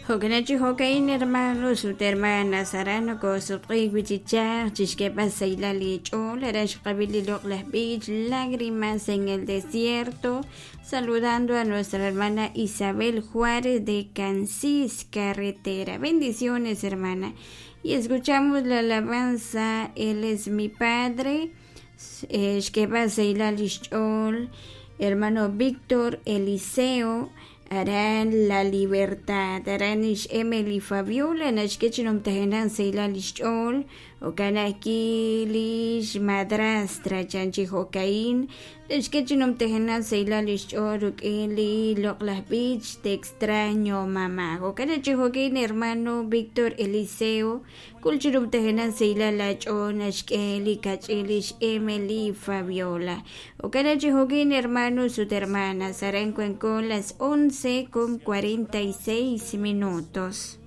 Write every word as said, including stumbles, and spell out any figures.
Jo'kanachi jo'ka'in hermanos ut hermanas aran nokosutq'iik wi' chi chaj chixk'eeb'al sahilal eech'ool aran xqab'i li loq'laj b'ich Lágrimas en el Desierto saludando a nuestra hermana Isabel Juárez de Cansis Carretera bendiciones hermana y escuchamos la alabanza Él es mi Padre xk'eeb'al sahilal lix ch'ool hermano Víctor Eliseo aran La Libertad aran ix Emily Fabiola naxk'e chi numtajenaq sahilal lix ch'ool jo'kan ajwi' lix madrastra chan chi jo'ka'in naxk'e chi numtajenaq sahilal lix ch'ool rik'in li loq'laj b'ich Te extraño mamá jo'kan chi jo'ka'in hermano Víctor Eliseo kul chi numtajenaq sahilal ach'ool naxk'e li kach'in lix Emily Fabiola jo'kan chi jo'ka'in hermanos ut hermanas aran wanko las once con cuarenta y seis minutos.